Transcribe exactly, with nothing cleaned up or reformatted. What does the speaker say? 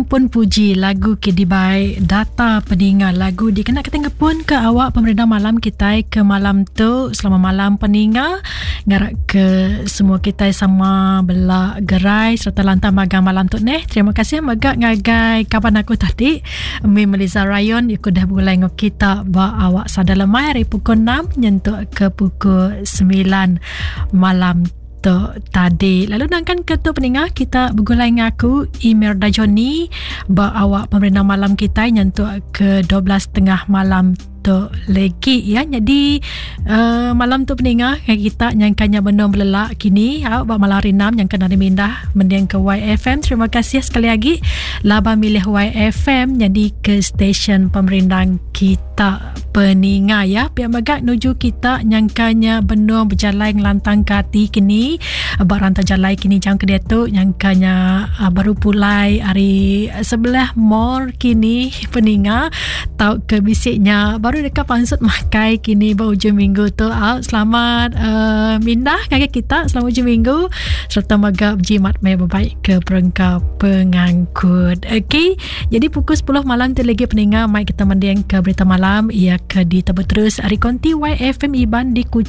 Ampun Puji lagu ke dibai data peninga lagu dikena kita ngepun ke awak pemerindang malam kitai ke malam tu. Selamat malam peninga, ngarap ke semua kitai sama bela gerai serta lantang magang malam tu neh. Terima kasih mega ngagai kaban aku tadi Mi Meliza Rayon ikut dah begulai ngau kita ba awak sada lemai hari pukul enam nyentuk ke pukul semilan malam tu tadi. Lalu nangkan ke tu peninga kita begulai ngaku Imelda Johnny ba awak pemerintah malam kita nyentuk ke dua belas tiga puluh malam tu lagi ya. Jadi uh, malam tu peninga kita nyangkanya benar belelak kini ya, ba malam hari enam nyangka nari mindah mending ke Y F M. Terima kasih sekali lagi laba milih Y F M jadi ke stesen pemerindang kita peninga ya. Pihak megak nuju kita nyangkanya benar berjalan ngelantang ke hati kini ba rantai jalai kini jam ke dia tu nyangkanya uh, baru pulai hari sebelah mall kini peninga tau ke bisiknya baru dekat pansut makai kini ba hujung minggu tu. Uh, selamat uh, mindah ngagai kita selamat hujung minggu serta megak berjimat mai berbaik ke perengka pengangkut. Okey, jadi pukul sepuluh malam tu lagi peninga mai kita mending ke berita malam ia ke ditebut terus hari konti Y F M Iban di Kuching.